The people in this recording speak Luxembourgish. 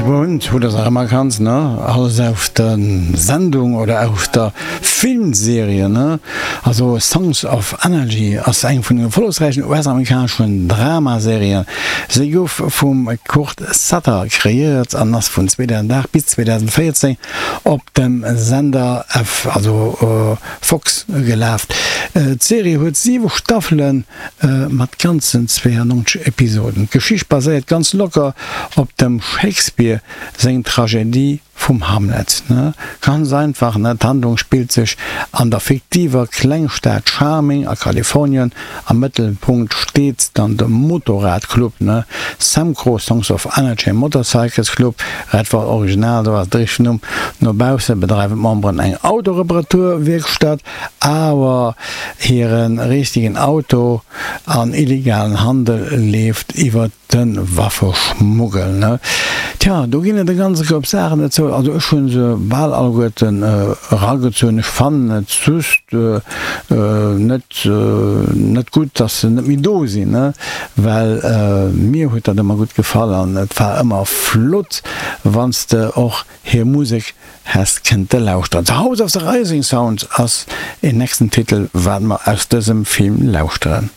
Bond, hutt der se erëm erkannt, ne? Alles aus der Sendung oder aus der Filmserie, ne? Also Sons of Anarchy ass eng vun den erfollegsräichen US-amerikaneschen Dramaserien. Se gouf vum Kurt Sutter kreéiert an ass vun 2008 bis 2014 op dem Sender F, also Fox, gelaf. D'Serie huet 7 Staffelen mat ganzen 92 Episoden. D'Geschicht baséiert ganz locker op dem Shakespeare seng Tragedie vum Hamlet. Ganz einfach, d'Handlung spillt sech an der fiktiver Klengstad Charming a Kalifornien. Am Mëttelpunkt steet dann de Motorradclub, Samcro, Songs of Anarchy Motorcycles Club, Redford Original, do ass de richtegen Numm. No bausse bedreiwen d'Memberen eng Autoreparaturwierkstatt. Awer hire richtegen Auto an illegalen Handel leeft iwwert de Waffeschmuggel. Tja, do ginn et e ganze Koup Saachen dozou. Also ech hu se bal alleguerten eragezunn. Ech fannen et just net net gutt, dass se net méi do sinn, well mir huet dat ëmmer gutt gefall an et war ëmmer flott, wann s de och Hir Musek häss kënnte lauschteren. The House of the Rising Sound ass een nächsten Titel wat mer aus dësem Film lauschteren.